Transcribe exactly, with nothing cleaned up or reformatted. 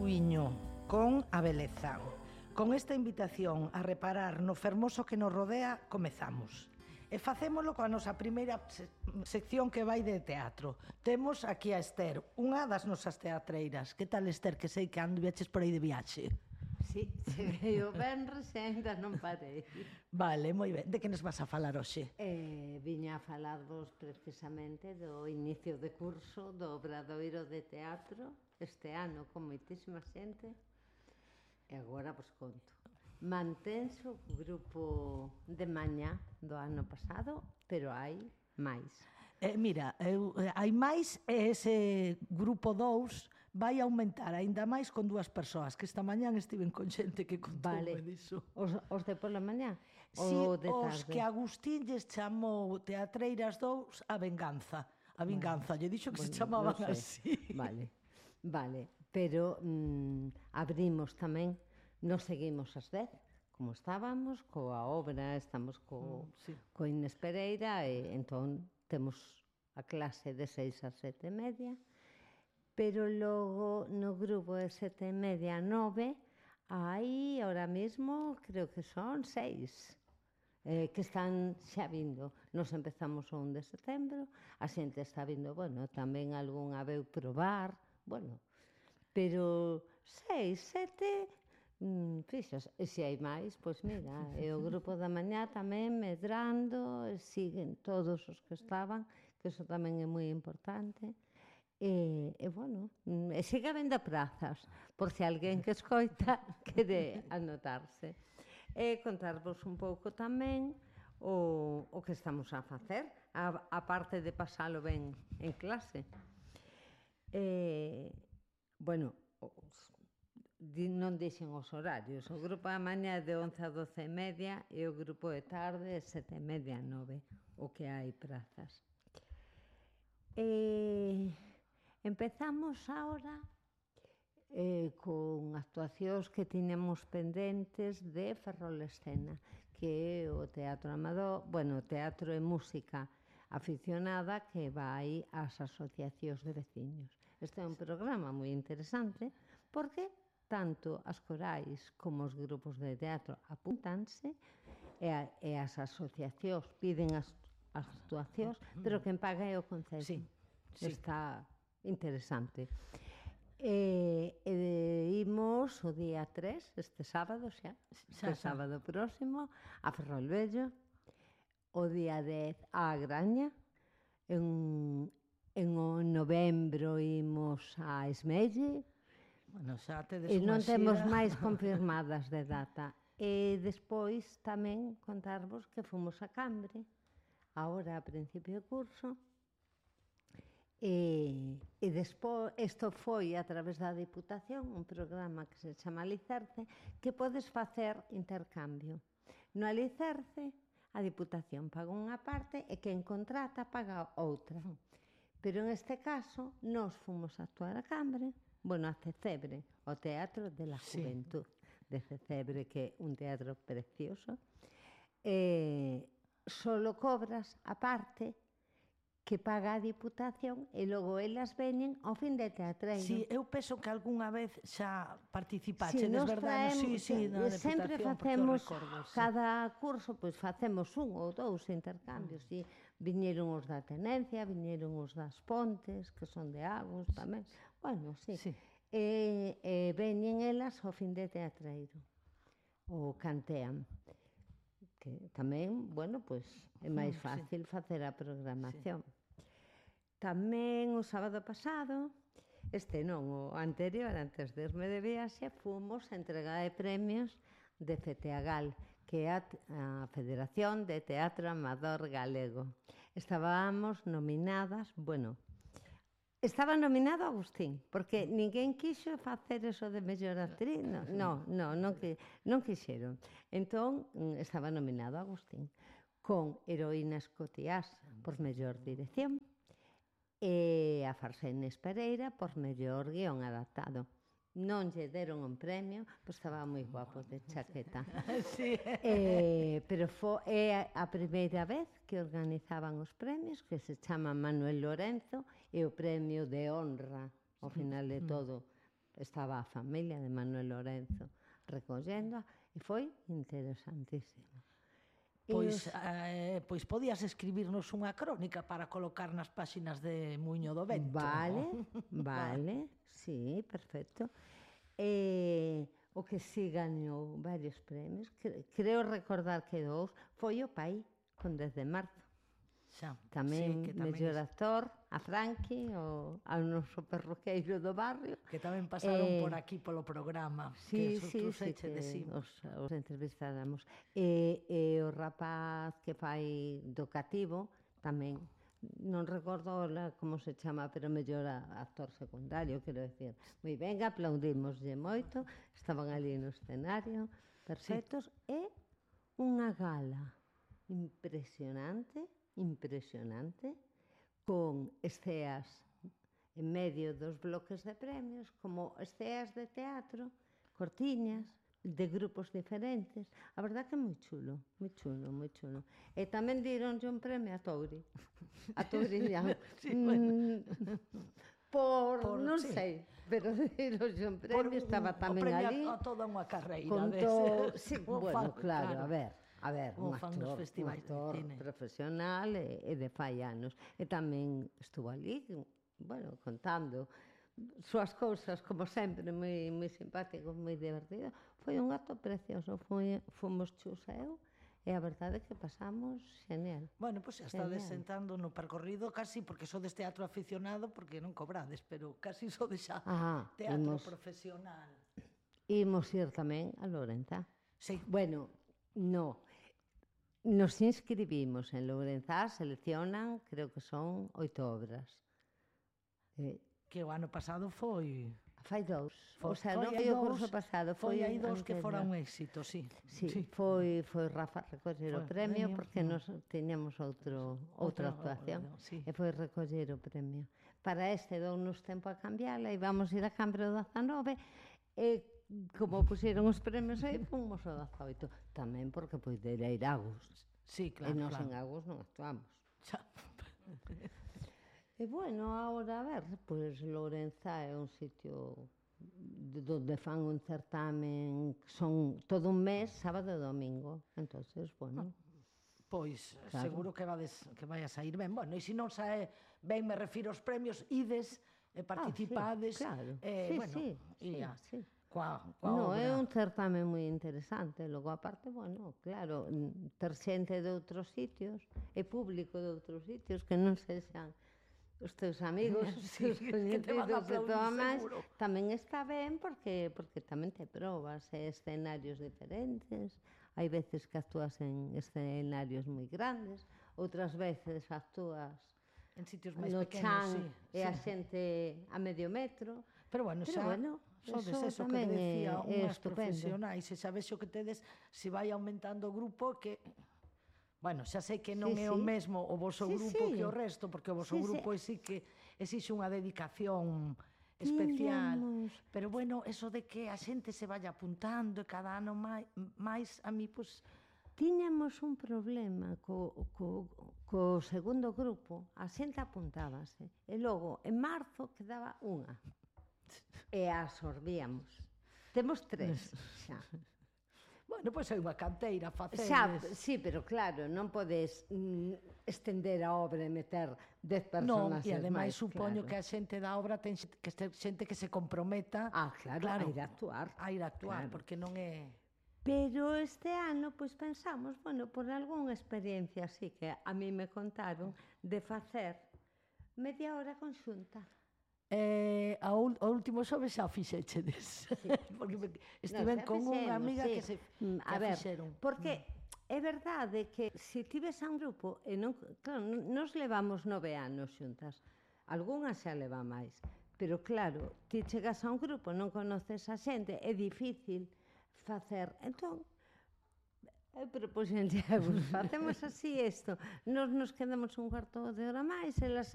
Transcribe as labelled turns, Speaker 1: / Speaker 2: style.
Speaker 1: Suíño con a beleza. Con esta invitación a reparar no fermoso que nos rodea, comezamos. E facémolo coa nosa primeira se sección que vai de teatro. Temos aquí a Esther, unha das nosas teatreiras. Que tal, Esther, que sei que ando viaches por aí de viaxe?
Speaker 2: Sí, cheguei o venres e ainda non parei.
Speaker 1: Vale, moi ben. De que nos vas a falar hoxe?
Speaker 2: Eh, viña a falarvos precisamente do inicio de curso do Obradoiro de Teatro este ano con moitísima xente. E agora vos conto. Mantense o grupo de mañá do ano pasado, pero hai máis.
Speaker 1: Eh, mira, eu, eh, hai máis e ese grupo dous vai aumentar aínda máis con dúas persoas, que esta mañán estiven con xente que contoume
Speaker 2: Vale.
Speaker 1: diso.
Speaker 2: Os, os de pola mañá?
Speaker 1: Si,
Speaker 2: Ou de
Speaker 1: os
Speaker 2: tarde?
Speaker 1: que Agustín lles chamou Teatreiras dous a venganza. A vinganza, lle dixo que se
Speaker 2: Bueno,
Speaker 1: chamaban
Speaker 2: non sei.
Speaker 1: así.
Speaker 2: Vale, vale. Pero mm, abrimos tamén, nos seguimos as dez, como estábamos, coa obra, estamos co,
Speaker 1: Mm, sí.
Speaker 2: co Inés Pereira, e entón temos a clase de seis a sete e media, pero logo no grupo de sete e media a nove, hai ahora mismo, creo que son seis, eh, que están xa vindo. Nos empezamos o un de setembro, a xente está vindo, bueno, tamén algunha veu probar, bueno, pero seis, sete, mm, fixas, e se hai máis, pois mira, e o grupo da mañá tamén medrando, e siguen todos os que estaban, que iso tamén é moi importante. E, e bueno, mm, e siga vendo prazas, por se alguén que escoita quere anotarse. E contarvos un pouco tamén o, o que estamos a facer, a, a parte de pasalo ben en clase. E, bueno, os, di, non dixen os horarios. O grupo da mañá é de once a doce e media e o grupo de tarde é sete e media a nove, o que hai prazas. E empezamos ahora eh, con actuacións que tiñamos pendentes de Ferrolescena, que é o teatro amador, bueno, teatro e música aficionada que vai ás asociacións de veciños. Este é un programa moi interesante porque tanto as corais como os grupos de teatro apuntanse e, a, e as asociacións piden as, as actuacións, pero quen paga é o Concello.
Speaker 1: Sí, sí.
Speaker 2: Está interesante. E, e imos o día tres, este sábado xa,
Speaker 1: Xa,
Speaker 2: este
Speaker 1: xa.
Speaker 2: sábado próximo, a Ferrolvello, o día dez a Graña, en, en o novembro imos a Esmelle,
Speaker 1: Bueno, xa tedes
Speaker 2: e
Speaker 1: unha
Speaker 2: non temos
Speaker 1: xira.
Speaker 2: máis confirmadas de data. E despois tamén contarvos que fomos a Cambre, agora a principio de curso, e, e despois, isto foi a través da Diputación, un programa que se chama Alicerce, que podes facer intercambio. No Alicerce, a Diputación paga unha parte e quen contrata paga outra. Pero en este caso, nós fomos a actuar a Cambre, bueno, a Cecebre, o Teatro de la
Speaker 1: Sí.
Speaker 2: Juventud de Cecebre, que é un teatro precioso, e solo cobras a parte que paga a Diputación e logo elas veñen ao fin de teatreiro.
Speaker 1: Si, sí, eu penso que algunha vez xa participaxe,
Speaker 2: Sí, nos
Speaker 1: verdad?
Speaker 2: traemos,
Speaker 1: Sí, sí, na
Speaker 2: sempre
Speaker 1: Deputación,
Speaker 2: facemos,
Speaker 1: recordo, sí.
Speaker 2: cada curso, pois facemos un ou dous intercambios, si viñeron os da Tenencia, viñeron os das Pontes, que son de Agos tamén, bueno, sí,
Speaker 1: Sí.
Speaker 2: e, e veñen elas ao fin de teatreiro, o cantean, que tamén, bueno, pois é máis
Speaker 1: Mm, sí.
Speaker 2: fácil facer a programación. Tamén o sábado pasado, este non, o anterior, antes de irme de viaxe, fomos a entrega de premios de FETEAGAL, que é a, a Federación de Teatro Amador Galego. Estábamos nominadas, bueno, estaba nominado Agustín, porque ninguén quixo facer eso de mellor actriz, non, non, non, non, que, non quixeron. Entón, estaba nominado Agustín, con Heroína Escotiás por mellor dirección, e a farsa Inés Pereira por mellor guión adaptado. Non lle deron un premio, pois estaba moi guapo de chaqueta.
Speaker 1: Sí.
Speaker 2: Eh, pero foi é a primeira vez que organizaban os premios, que se chama Manuel Lorenzo, e o premio de honra, ao final de todo, estaba a familia de Manuel Lorenzo recollendo, e foi interesantísimo.
Speaker 1: Pois, eh, pois podías escribirnos unha crónica para colocar nas páxinas de Muiño do Vento.
Speaker 2: Vale, vale, sí, perfecto. E o que si gañou varios premios, creo recordar que dous, foi o Pai, con dez de marzo.
Speaker 1: Xa,
Speaker 2: tamén,
Speaker 1: sí, que tamén
Speaker 2: mellor
Speaker 1: es...
Speaker 2: actor, a Franqui, o, ao noso perroqueiro do barrio.
Speaker 1: Que tamén pasaron
Speaker 2: eh,
Speaker 1: por aquí polo programa.
Speaker 2: Sí,
Speaker 1: que
Speaker 2: sí, sí, que os, os entrevistáramos. E, e o rapaz que fai do cativo, tamén, non recordo como se chama, pero mellor actor secundario, quero decir. Moi ben, aplaudimoslle moito, estaban ali no escenario, perfectos, sí. E unha gala impresionante, impresionante, con esceas en medio dos bloques de premios, como esceas de teatro, cortiñas, de grupos diferentes. A verdad que é moi chulo, moi chulo, moi chulo. E tamén dironlle un premio a Touri, a Touriñán.
Speaker 1: Sí, bueno.
Speaker 2: Por,
Speaker 1: por,
Speaker 2: non
Speaker 1: sí.
Speaker 2: sei, pero dironlle un premio,
Speaker 1: por,
Speaker 2: estaba tamén ali.
Speaker 1: O premio a toda unha carreira.
Speaker 2: Contou, sí, bueno,
Speaker 1: fan,
Speaker 2: claro, claro, a ver. A ver, un actor, un actor profesional e, e de fai anos. E tamén estuvo ali, bueno, contando súas cousas, como sempre, moi, moi simpático, moi divertido. Foi un acto precioso, foi, fomos Chus e eu, e a verdade é que pasamos genial.
Speaker 1: Bueno, pois pues, estades sentando no percorrido casi, porque sodes teatro aficionado, porque non cobrades, pero casi sodes xa ah, teatro imos, profesional.
Speaker 2: Imos ir tamén a Lourenzá.
Speaker 1: Sí.
Speaker 2: Bueno, no. Nos inscribimos en Lourenzá, seleccionan, creo que son oito obras.
Speaker 1: Eh, que o ano pasado foi...
Speaker 2: Fai dous. O sea, non foi o curso pasado.
Speaker 1: Foi hai dous que fora un éxito, sí.
Speaker 2: Sí, sí. Foi, foi Rafa recoller o premio, premio porque nos teñamos outro, outra actuación. Sí. E foi recoller o premio. Para este dounos tempo a cambiarla e vamos ir a Cambro dezanove e como puseron os premios aí, fomos ao dezaoito. Tamén porque poidera ir a Agus.
Speaker 1: Sí, claro,
Speaker 2: e nós
Speaker 1: claro.
Speaker 2: en Agus non actuamos.
Speaker 1: Xa.
Speaker 2: E bueno, agora, a ver, pois Lourenzá é un sitio donde fan un certamen que son todo un mes, sábado e domingo. Entonces, bueno...
Speaker 1: Pois, claro. Seguro que, vades, que vai a sair ben. Bueno, e se non sae ben, me refiro aos premios, ides e participades.
Speaker 2: Ah, sí, claro.
Speaker 1: Eh,
Speaker 2: sí,
Speaker 1: bueno,
Speaker 2: sí,
Speaker 1: sí,
Speaker 2: sí.
Speaker 1: Coa, coa
Speaker 2: no,
Speaker 1: obra.
Speaker 2: É un certamen moi interesante. Logo, aparte, bueno, claro, ter xente de outros sitios e público de outros sitios que non sexan os teus amigos, os
Speaker 1: sí,
Speaker 2: teus coñecidos e todo máis,
Speaker 1: seguro.
Speaker 2: Tamén está ben porque, porque tamén te probas e escenarios diferentes. Hai veces que actúas en escenarios moi grandes, outras veces actúas
Speaker 1: en sitios máis
Speaker 2: no
Speaker 1: pequenos,
Speaker 2: chan
Speaker 1: sí,
Speaker 2: e
Speaker 1: sí.
Speaker 2: A xente a medio metro.
Speaker 1: Pero bueno,
Speaker 2: Pero
Speaker 1: xa
Speaker 2: bueno,
Speaker 1: sodes
Speaker 2: eso
Speaker 1: eso que decía
Speaker 2: é,
Speaker 1: unhas profesionais, e xa ves o que tedes, se vai aumentando o grupo, que bueno, xa sei que non
Speaker 2: sí,
Speaker 1: é
Speaker 2: sí.
Speaker 1: o mesmo o voso
Speaker 2: sí,
Speaker 1: grupo
Speaker 2: sí.
Speaker 1: que o resto, porque o voso
Speaker 2: sí,
Speaker 1: grupo
Speaker 2: sí.
Speaker 1: sí que exixe unha dedicación especial.
Speaker 2: Tiñamos...
Speaker 1: Pero bueno, eso de que a xente se vaya apuntando e cada ano máis, máis a mí, pois...
Speaker 2: Tiñamos un problema co, co, co segundo grupo, a xente apuntábase, e logo, en marzo, quedaba unha. E a absorbíamos. Temos tres, xa.
Speaker 1: Bueno, pois é unha canteira, facedes...
Speaker 2: Xa, sí, pero claro, non podes mm, estender a obra e meter dez personas.
Speaker 1: Non, e ademais
Speaker 2: máis,
Speaker 1: supoño
Speaker 2: claro.
Speaker 1: que a xente da obra ten que ser xente que se comprometa
Speaker 2: ah, claro,
Speaker 1: claro,
Speaker 2: a ir a actuar.
Speaker 1: A ir a actuar,
Speaker 2: claro.
Speaker 1: Porque non é...
Speaker 2: Pero este ano, pois pensamos, bueno, por algunha experiencia así que a mí me contaron, de facer media hora conxunta.
Speaker 1: Eh, a, ul, a último xoves xa fixechedes. Sí. Porque estiven no, con unha amiga sí. que se que
Speaker 2: a ver,
Speaker 1: fixeron.
Speaker 2: Porque é verdade que se tives un grupo, e non, claro, nos levamos nove anos xuntas, algunhas xa leva máis, pero claro, ti chegas a un grupo, non conoces a xente, é difícil facer. Entón, eu propuxenlle a vos, facemos así isto, nos nos quedamos un cuarto de hora máis, elas